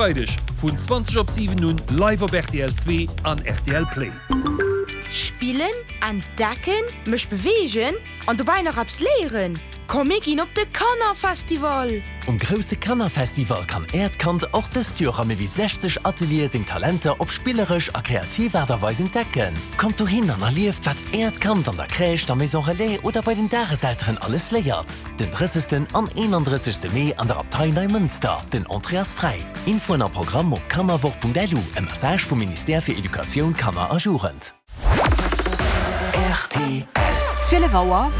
Freideg vun 20 op 7 un live op rtl 2 an rtl Play. Spillen, entdecken, mech beweegen an dobäi nach eppes léieren? Komm mir ginn op de Kannerfestival! Um grousse Kannerfestival kann Äert Kand och dëst Joer a méi wéi 60 Ateliere seng Talenter op spilleresch a kreativ Aart a Weis entdecken. Kommt dohin an erlieft, wat Äert Kand an der Crèche, der Maison Relais oder bei den Dageselteren alles léiert. Den 30. an 31. Mee an der Abtei Neimënster. Den Entrée ass fräi. Infoen a Programm op kannerwoch.lu. E Message vum Ministère fir Educatioun, Kanner a Jugend. Rtl. 12 Auer,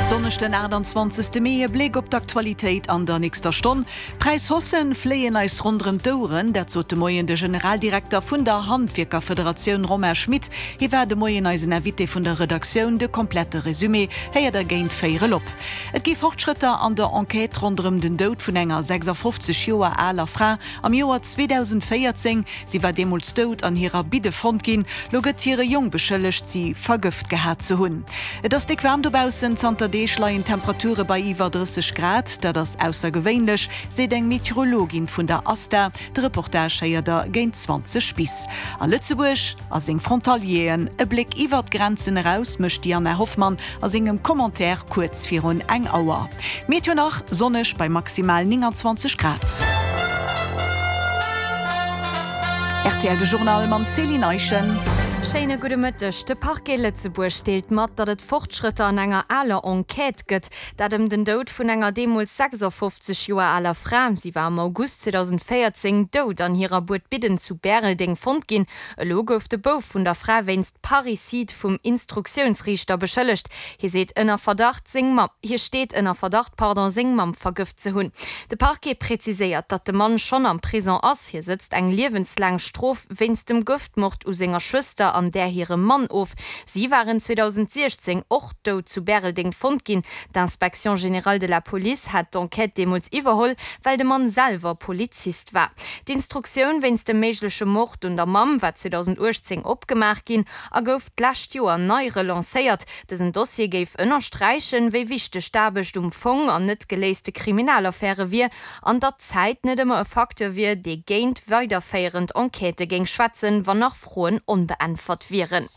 Donneschden 28 Mee, E Bléck op d'Aktualitéit an der nächster Stonn. D'Präishaussen fléien eis ronderëm d'Oueren, dat sot de Moien de Generaldirekter vun der Handwierkerfederatioun Romain Schmit. Hie war de Moien eisen Invité vun der Redaktioun. De komplette Resumé héiert der géint véierel op. Et gi Fortschrëtter an der Enquête ronderëm den Doud vun enger 56 Joer aler Fra am Joer 2014. Si war deemools dout an hirer Bidde fonnt ginn. Lo gëtt hire Jong beschëllegt, si vergëft gehat ze hunn. Et ass déck waarm dobaussen, zanter Deeg leien d'Temperature bei iwwer 30 Grad. Dat ass aussergewéinlech, seet eng Meteorologin vun der ASTA. De Reportage héiert der géint 20 bis. A Lëtzebuerg a seng Frontalieren. E Bléck iwwer d'Grenzen eraus mécht d'Diana Hoffmann a sengem Commentaire kuerz virun eng Auer. D'Meteo nach, Sonneg bei maximal 29 Grad. Rtl De Journal mam Céline Eischen. Schéine gudde Mëtteg. De Parquet Lëtzebuerg deelt mat, datt et Fortschrëtter an enger aler Enquête gëtt. Dat ëm den Doud vun enger deemools 56 Joer aler Fra. Si war am August 2014 dout an hirer Buedbidden zu Bäreldeng fonnt ginn. Elo gouf de Bouf vun der Fra wéinst Parricide vum Instruktiounsriichter beschëllegt. Hie seet ënner Verdacht, seng Mamm, hie steet ënner Verdacht, pardon, seng Mamm vergëft ze hunn. De Parquet präziséiert, datt de Mann schonn am Prison ass. Hie sëtzt eng liewenslaang Strof wéinst dem Gëftmord u senger Schwëster an där hirem Mann of. Si waren 2016 och dout zu Bäreldeng fonnt ginn. D'Inspection générale de la police hat d'Enquête deemools iwwerholl, well de Mann selwer Polizist war. D'Instruktioun wéinst dem méigleche Mord un der Mamm war 2018 opgemaach ginn a gouf d'lescht Joer nei relancéiert. Dësen Dossier géif ënnersträichen, wéi wichteg d'Aarbecht um Fong an net geléiste Kriminalaffäre wier an datt d'Zäit net ëmmer e Facteur wier, dee géint weiderféierend Enquêtë géing schwätzen, wann nach Froen onbeäntwert wieren.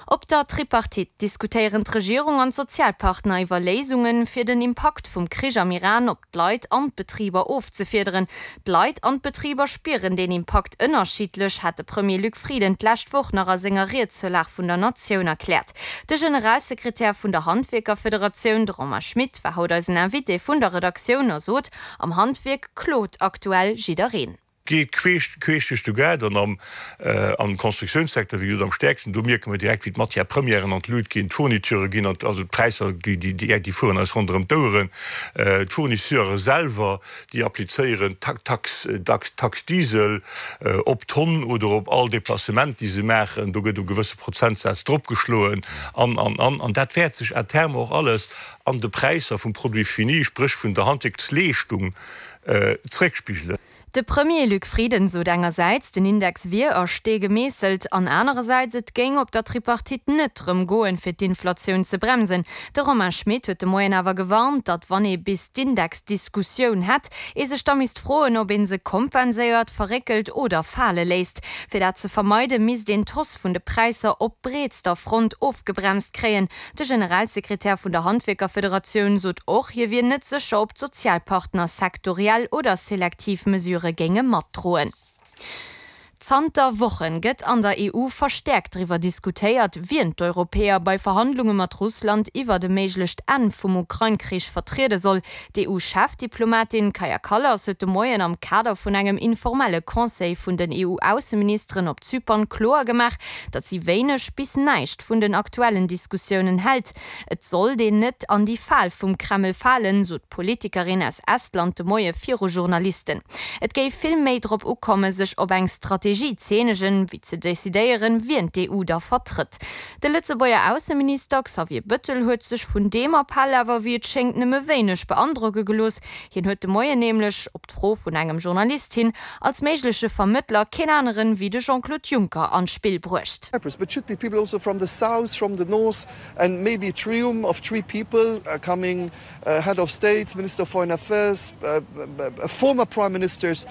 Op der Tripartite diskutéieren d'Regierung an d'Sozialpartner iwwer Léisungen, fir den Impakt vum Krich am Iran op d'Leit an d'Betriber ofzefiederen. D'Leit an d'Betriber spieren deen Impakt ënnerschiddlech, hat de Premier Luc Frieden d'lescht Woch nach a senger Ried zur Lag vun der Natioun erkläert. De Generalsekretär vun der Handwierkerfederatioun, de Romain Schmit, war haut eisen Invité vun der Redaktioun a sot, Am Handwierk klot aktuell jiddereen. Geet queesch queesch duerch de Gaart an am am Constructiounssecteur, wéi gesot, am stäerksten. Do mierke mer direkt, wéi d'Matière-premièren an d'Lut ginn, d'Fourniture ginn an, also d'Präisser, déi déi déi déi fueren eis ronderëm d'Oueren. D'Fournisseure selwer, déi applizéieren d'Tax Tax Taxe Diesel op d'Tonn oder op all Déplacement, déi se maachen. Do gëtt e gewësse Prozentsaz dropgeschloen an, an, an. An dat wäert sech à terme och alles an de Präisser vum Produit fini, spréch vun der Handwierksleeschtung, zréckspigelen. De Premier Luc Frieden sot engersäits, den Index wier a Stee gemeesselt, an anerersäits, et géing op der Tripartite net drëm goen, fir d'Inflatioun ze bremsen. De Romain Schmit huet de Moien awer gewarnt, datt wann ee bis d'Indexdiskussioun hätt, ee sech da misst froen, ob ee se kompenséiert, verréckelt oder fale léisst. Fir dat ze vermeiden, misst een d'Hausse vun de Präisser op breetster Front ofgebremst kréien. De Generalsekretär vun der Handwierkerfederatioun sot och, hie wier net sécher, ob d'Sozialpartner sektoriell oder selektiv Mesurë géinge matdroen. Zanter Woche gëtt an der EU verstäerkt driwwer diskutéiert, wien d'Europäer bei Verhandlunge mat Russland iwwert e méiglecht Enn vum Ukrain-Krich vertriede soll. D'EU-Chefdiplomatin Kaja Kallas huet de Moien am Kader vun engem informelle Conseil vun den EU-Ausseministeren op Zypern kloer gemaach, datt si wéineg bis näischt vun den aktuellen Diskussiounen hält. Et sollt een net an déi Fal vum Kreml falen, sot d'Politikerin aus Estland de Moie viru Journalisten. Et géif vill méi drop ukomme sech op eng Strategie. Strategie z'eenegen, wéi ze decidéieren, wien d'EU da vertrëtt. De Lëtzebuerger Ausseminister Xavier Bëttel huet sech vun deem Appell awer, wéi et schéngt, nëmme wéineg beandrocke gelooss. Hien huet de Moien nämlech, op d'Fro vun engem Journalist hin, als méigleche Vermëttler keen aneren wéi de Jean-Claude Juncker an d'Spill bruecht. But should be people also from the south, from the north and maybe a trium of three people coming, head of state, minister of foreign affairs, former prime ministers.